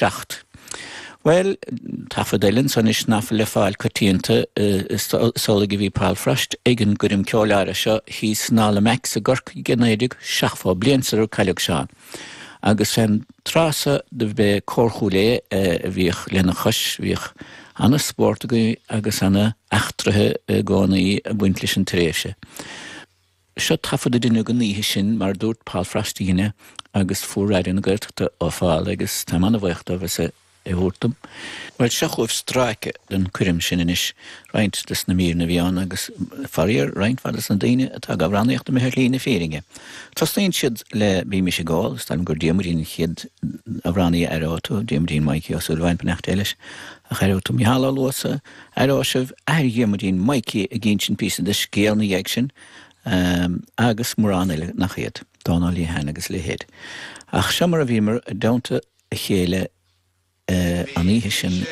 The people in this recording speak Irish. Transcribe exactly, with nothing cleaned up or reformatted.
seacht. Well, taifead eile ansan anois nach bhfuil le fáil coitianta is amhlaidh a bhí Paul Frost ag an gcoirm ceoil áirithe seo thíos in Halla Macs i gCorcaigh i naoi déag seachtó, bliain sular cailleadh Seán. Agus fén tráth so do b'é Cór Chúil Aodha a bhíodh lena chois, bhíodh ana spórt againn agus ana eachtraithe i gcónaí ag baint leis an tréimhse. Seo taifead a deineadh an oíche sin mar a dúirt Paul Frost a dhein é agus fuair Raidió na Gaeltachta ó Phal agus táim ana-bhuíoch dóibh as é a thabhairt dom. Bhuel, seo chugaibh stráice den choirm sin anois, roinnt des na míreanna a bhí ann agus faraor, roinnt mhaith des na daoine atá ag amhránaíocht imithe ar shlí na fírinne. Tosnaíonn siad le Bímis ag Ól, is dóigh liom gur Diarmuidín an chéad amhránaí a aireoidh tú, Diarmuidín Mikey Ó Súilleabháin, beannacht Dé leis, ach aireoidh tú Mícheál Ó Luasa, aireoidh sibh athair Dhiarmuidín, Mikey, ag insint píosa de scéal ina dhiaidh sin, agus mórán eile nach iad, Dónal Lehane agus a leithéid. Ach seo mar a bhíomar i dteannta a chéile an oíche sin.